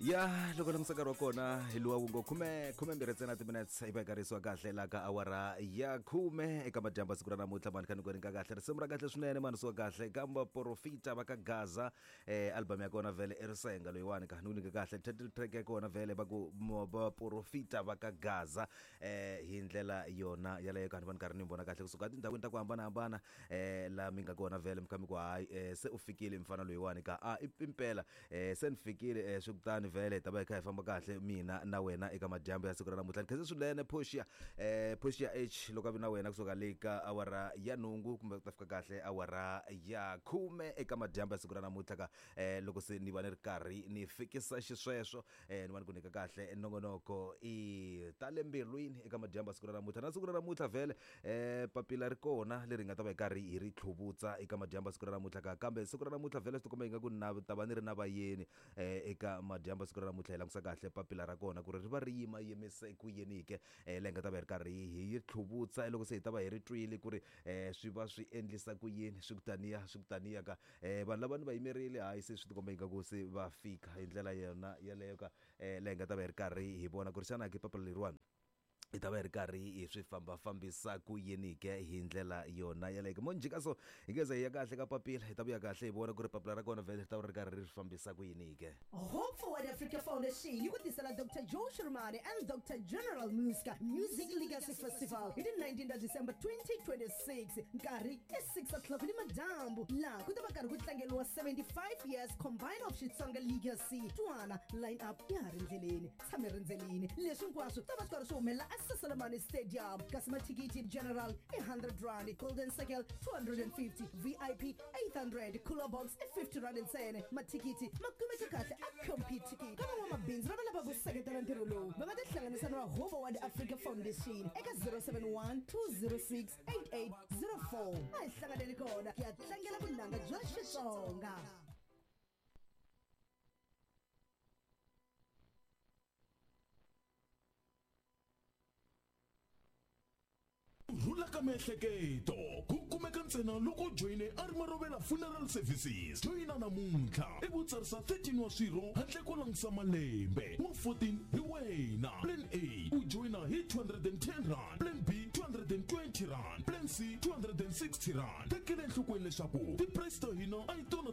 Ya loko langutisa nkarhi wa kona hi luwa wu ngo khume 12 ntsena timinutes i va karisiwa kahle la ka awara ya 10 eka madyambu siku ra namuntlha mani kha ni ku ringa kahle risimu ra kahle swinene mani siwa kahle ka vaporofita va ka Gaza. Album ya kona vhele i risenga loyiwani ka ni ku nyika kahle title track ya kona vhele va ku vaporofita va ka Gaza. Hi ndlela yona yaleyo ka ni va ni karhi ni vona kahle kusuka etindhawini ta ku hambanahambana la mi nga kona vhele mi kha mi ku hayi, se u fikile mfana loyiwani ka a i impela. Se ni fikile, swi kutani vhele hi ta va hi kha hi famba kahle mina na wena eka madyambu ya siku ra namuntlha. Ni khense swinene Portia, Portia H loko a vi na wena kusuka le ka awara ya 8 kumbe ku ta fika kahle awara ya 10 eka madyambu ya siku ra namuntlha ka loko se ni va ni ri karhi ni fikisa xisweswo, ni va ni ku nyika kahle nongonoko i ta le mbilwini eka madyambu ya siku ra namuntlha. Na siku ra namuntlha vhele papila ri kona leri hi nga ta va hi karhi hi ri tlhuvutsa eka madyambu ya siku ra namuntlha ka, kambe siku ra namuntlha vhele swi tikomba ingaku na ta va ni ri na vayeni eka madyambu ya siku ra namuntlha. Hi langutisa kahle papila ra kona ku ri ri va ri yima yimise ku yini ke, leyi nga ta va hi ri karhi hi tlhuvutsa loko se hi ta va hi ri twile ku ri swi va swi endlisa ku yini, swi ku taniya swi ku taniya ka. Vanhu lava ni va yimerile, hayi se swi tikomba ingaku se va fika hi ndlela yona yeleyo ka, leyi nga ta va hi ri karhi hi vona ku ri xana ke papila leriwani hi ta va hi ri karhi hi swi fambafambisa ku yini ke hi ndlela yona yeleyo. Mo njhika so hi nge ze hi ya kahle ka papila, hi ta vuya kahle hi vona ku ri papila ra kona vhele ri ta va ri karhi ri fambisa ku yini ke. Hope Forward Africa Foundation yi ku tisela Dr Joe Shirimani and Dr General Muska Music Legacy Festival hi ti 19 ta December 2026, nkarhi i 6 o'clock ni madyambu, laha ku ta va karhi ku tlangeriwa 75 years combined of Xitsonga Legacy. Twana line up ya ha ri ndleleni, tshame rindzelini. Leswi hinkwaswo ta va swi karhi swi humelela eSaselamani Stadium, kasi mathikithi general i 100 rand, golden circle 250, VIP 800, cooler box i 50 rand ntsena. Mathikithi ma kumeka kahle a Computicket. Ka van'wamabindzu lava lavaka ku seketela ntirho lowu, va nga tihlanganisa na Hope Forward Africa Foundation eka 071 206 8804. A hi hlanganeni kona ku ya tlangela vunanga bya Xitsonga. Ku rhula ka miehleketo ku kumeka ntsena loko u joyine Arimarovela Funeral Services. Joyina namuntlha ivi u tsarisa 13 wa swirho handle ko langusa malembe. Wa 14 hi wena. Plan A u joyina hi 210 rand, Plan B 220 rand, Plan C 260 rand. Tekela enhlokweni leswaku ti-price ta hina a hi tona.